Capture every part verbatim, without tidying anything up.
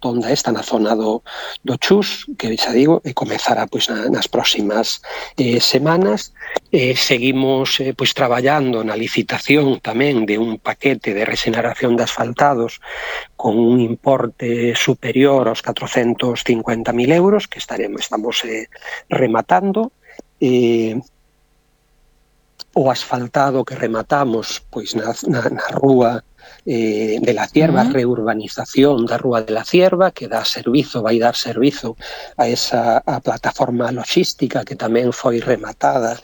rotonda esta na zona do, do Chus, que xa digo, e comezará pois, na, nas próximas eh, semanas. Eh, seguimos eh, pois, traballando na licitación tamén de un paquete de regeneración de asfaltados con un importe superior aos catrocentos cincuenta mil euros que estaremos, estamos eh, rematando. Eh, o asfaltado que rematamos pois na, na, na rúa eh, de la Cierva, uh-huh. reurbanización da rúa de la Cierva, que dá servizo, vai dar servizo a esa a plataforma logística que tamén foi rematada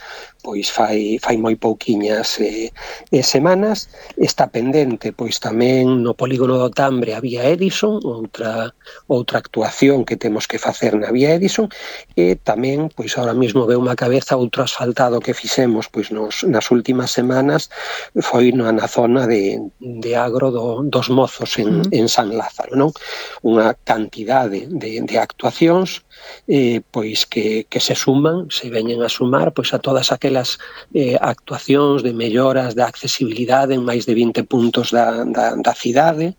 pois fai, fai moi pouquiñas eh, eh, semanas. Está pendente pois tamén no polígono do Tambre a vía Edison, outra outra actuación que temos que facer na vía Edison, e tamén pois ahora mesmo veu unha cabeza outro asfaltado que fixemos pois nos, nas últimas semanas foi na, na zona de, de Agro do, dos Mozos en, mm. en San Lázaro, non? Unha cantidade de, de actuacións eh, pois que, que se suman, se veñen a sumar pois a todas aquelas Eh, actuacións de melloras da accesibilidade en máis de vinte puntos da, da, da cidade,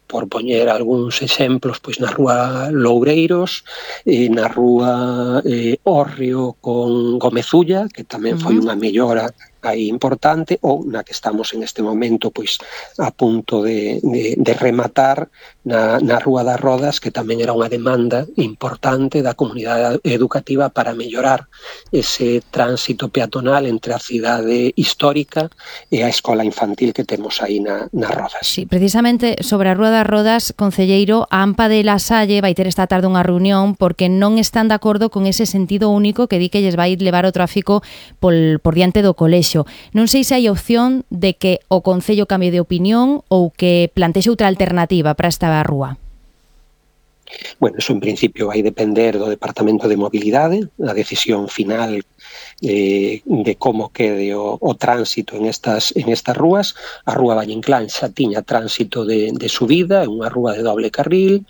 por poñer algúns exemplos pois na rúa Loureiros, e na rúa eh, Hórreo con Gomezulla, que tamén foi unha mellora aí importante, ou na que estamos en este momento pois a punto de, de, de rematar na, na Rúa das Rodas, que tamén era unha demanda importante da comunidade educativa para mellorar ese tránsito peatonal entre a cidade histórica e a escola infantil que temos aí na, nas Rodas. Sí, precisamente sobre a Rúa das Rodas, concelleiro, a AMPA de La Salle vai ter esta tarde unha reunión porque non están de acordo con ese sentido único que di que lles vai levar o tráfico por, por diante do colexio. Non sei se hai opción de que o Concello cambie de opinión ou que plantexe outra alternativa para esta rúa. Bueno, eso en principio vai depender do Departamento de Mobilidade, a decisión final eh, de como quede o, o tránsito en estas, en estas rúas. A rúa Valle Inclán xa tiña tránsito de, de subida, é unha rúa de doble carril,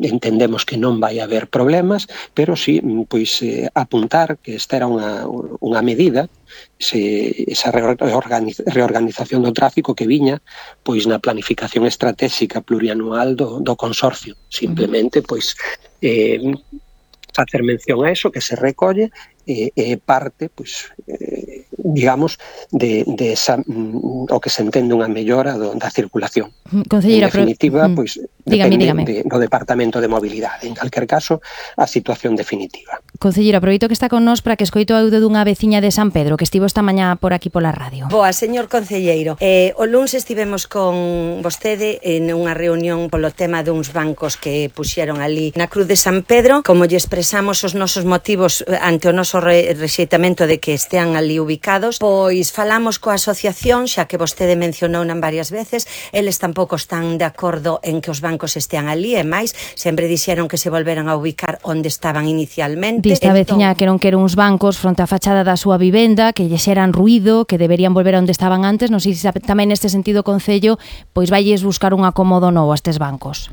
entendemos que non vai haber problemas, pero sí, pois, eh, apuntar que esta era unha, unha medida, se, esa reorganiz, reorganización do tráfico que viña pois na planificación estratégica plurianual do, do consorcio. Simplemente, pois, eh, facer mención a eso, que se recolle e eh, eh, parte, pois, eh, digamos, de, de esa, mm, o que se entende unha mellora do, da circulación. Concelleira, en definitiva, pero, pois, dígame, depende dígame. De, do Departamento de Mobilidade. En calquer caso, a situación definitiva. Concelleira, aproveito que está con nós para que escoito o audio dunha veciña de San Pedro que estivo esta mañá por aquí pola radio. Boa, señor concelleiro. Eh, o luns estivemos con vostede en unha reunión polo tema duns bancos que puxeron ali na Cruz de San Pedro. Como lle expresamos os nosos motivos ante o noso re rexeitamento de que estean ali ubicados, pois falamos coa asociación, xa que vostede mencionou nan varias veces, eles tampouco están de acordo en que os bancos estean ali, e máis, sempre dixeron que se volveran a ubicar onde estaban inicialmente. Dista entón... veciña que non quere uns bancos fronte á fachada da súa vivenda, que lle xeran ruído, que deberían volver a onde estaban antes. Non sei se tamén neste sentido, Concello, pois vailles buscar un acomodo novo a estes bancos.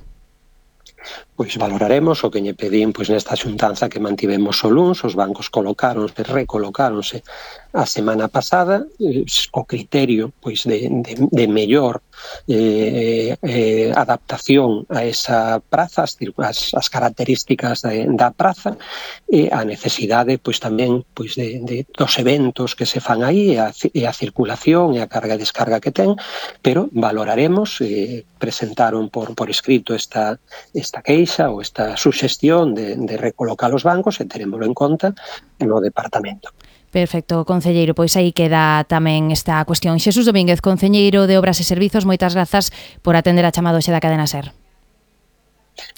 Pois valoraremos o que lle pedín pois nesta xuntanza que mantivemos o luns. Os bancos colocáronse, recolocáronse a semana pasada, eh, o criterio pois de, de, de mellor eh, eh, adaptación a esa praza, as, as, as características de, da praza, e a necesidade pois tamén pois de, de dos eventos que se fan aí, e a, e a circulación e a carga e descarga que ten, pero valoraremos, eh, presentaron por, por escrito esta, esta queixa ou esta suxestión de, de recolocar os bancos, e terémoslo en conta no departamento. Perfecto, concelleiro, pois aí queda tamén esta cuestión. Xesús Domínguez, concelleiro de Obras e Servizos, moitas grazas por atender a chamada hoxe da Cadena Ser.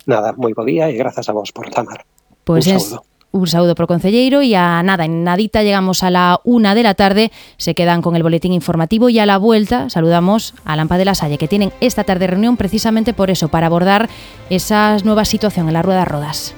Nada, moi bo día e grazas a vos por chamar. Pois un es, saúdo. Un saúdo pro concelleiro, e a nada, en nadita llegamos a la una de la tarde, se quedan con el boletín informativo, y a la vuelta saludamos a AMPA de La Salle, que tienen esta tarde reunión precisamente por eso, para abordar esa nueva situación en la Rueda Rodas.